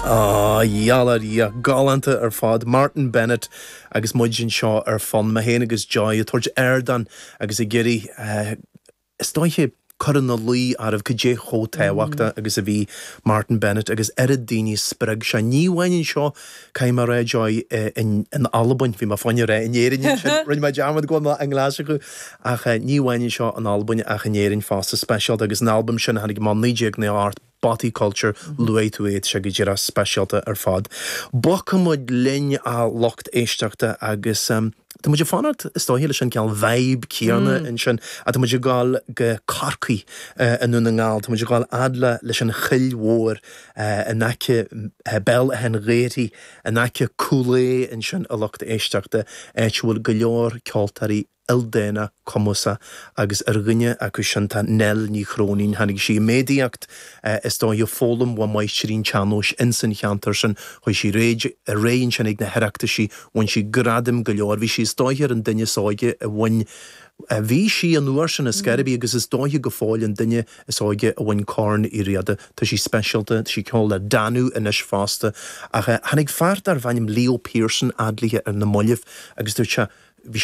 Á, gheall ar Dhia, galánta ar fad. Martyn Bennett agus muid anseo ar Fonn, mé féin agus Joy ag tabhairt ardán agus ag iarraidh, is dóiche, cur ina luí oraibh cad é chomh tábhachtach agus a bhí Martyn Bennett agus oiread daoine a spreag sé. Ní amháin anseo, caithfidh mé a rá, Joy, in Albain, bhí mé fá choinne a rá in Éirinn ansin, rinne mé dearmad go bhfuil mé i nGlaschú, ach ní amháin anseo in Albain ach in Éirinn fosta, speisialta agus an albam sin a tháinig amach 1998, Bothy Culture, luaigh tú é, tá sé go díreach speisialta ar fad. Bogfaidh muid linn a lucht éisteachta agus tá muid ag fanacht is dóiche leis an gcineál vibe céanna ansin ach tá muid ag dul go Corcaigh i nDún na nGall, tá muid ag dul fhad le leis an Choill Mhór in aice Béal Átha an Ghaorthaidh, in aice Cúil Aodha ansin a lucht éisteachta, áit a bhfuil go leor ceoltóirí ildánach cumasach agus ar dhuine acu sin tá Nell Ní Chróinín. Tháinig sí i méadaíocht is dóiche foghlaim ó mháistrí an tsean-nóis ins an cheantar sin. Chuaigh sí ar aghaidh ansin ag na hOireachtaisí, bhain sí gradaim go leor. Bhí sí is dóiche ar an duine is óige a bhain, bhí sí an uair sin ar scor ar bith agus is dóiche go fóill an duine is óige a bhain Corn Uí Riada. Tá sí speisialta, tá sí ag ceol le Danú anois fosta. Ach tháinig fear darbh ainm Leo Pearson fhad léithe ar na mallaibh agus dúirt sé.